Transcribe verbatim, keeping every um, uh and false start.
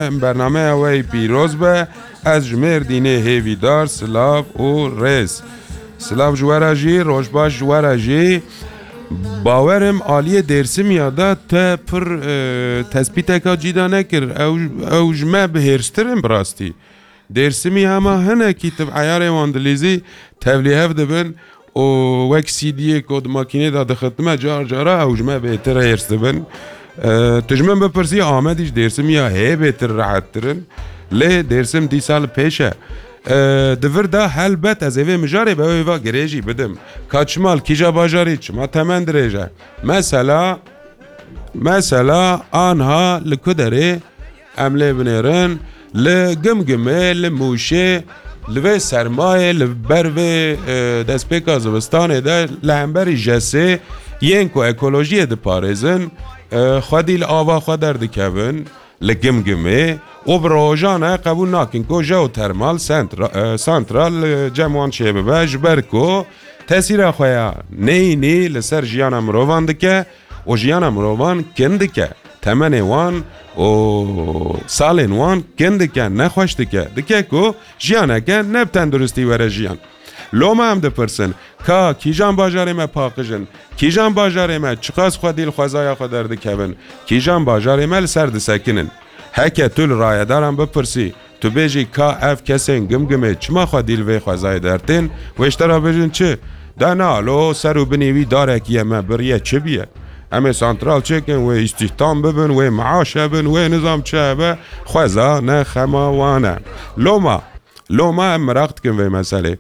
Bernameya we yî pîroz be. Ez ji Mêrdînê hêvîdar, silav û rêz. Silav ji we re jî, roj baş ji we re jî. Bawerim aliyê Dêrsimiya de te pir, e, tespîteka cîda nekir. Ew, ew ji me bihêrstir in bi rastî. Dêrsimî hema hinekî tu bi eyarê wan dilîzî tevlî hev dibin û wek C D'yê ku di makînê de dixitime car cara ew ji me bêtir hêrs dibin. E, tu ji min bipirsî Amedî ji Dêrsimî ya hê bêtir rehettir in. Lê Dêrsim dîsa li pêş e. E, di vir de helbet ez ê vê mijarê bi ew êva girê jî bidim. Ka çima li kîja bajarî çima temen dirêj e? Mesela, mesela anha li ku derê em lê binêrin, li Gimgimê, li Mûşê, li vê sermayê, li ber vê, e, destpêka zivistanê de li hemberî jesê yên ku ekolojiyê diparêzin, e, xwedî li ava xwe derdikevin, li Gimgimê û bi rojan e qebûl nakin ku jeotermal sentra-, e, santral, e, cem wan çêbibe, ji ber ku tesîra xwe ya neyînî li ser jiyana mirovan dike û jiyana mirovan kin dike. Temenê wan û salên wan kin dike, nexweş dike. Dike ku jiyaneke ne bi tenduristî were jiyan. Loma em dipirsin, ka kîjan bajarê me paqij in? Kîjan bajarê me çiqas xwedî li xwezaya xwe derdikevin? Kîjan bajarê me li ser disekinin? Heke tu li rayedaran bipirsî, tu bêjî ka ev kesên Gimgimê çima xwedî li vê xwezayê dertên, wê ji te re bêjin çi? De na, lo ser û binî wî darekî ye, me biriye, çi biye? Em ê santral çêkin, wê îstîhdam bibin, wê meaş hebin, wê nizam çi hebe, xweza ne xema wan e. Loma, loma em meraq dikin vê meselê.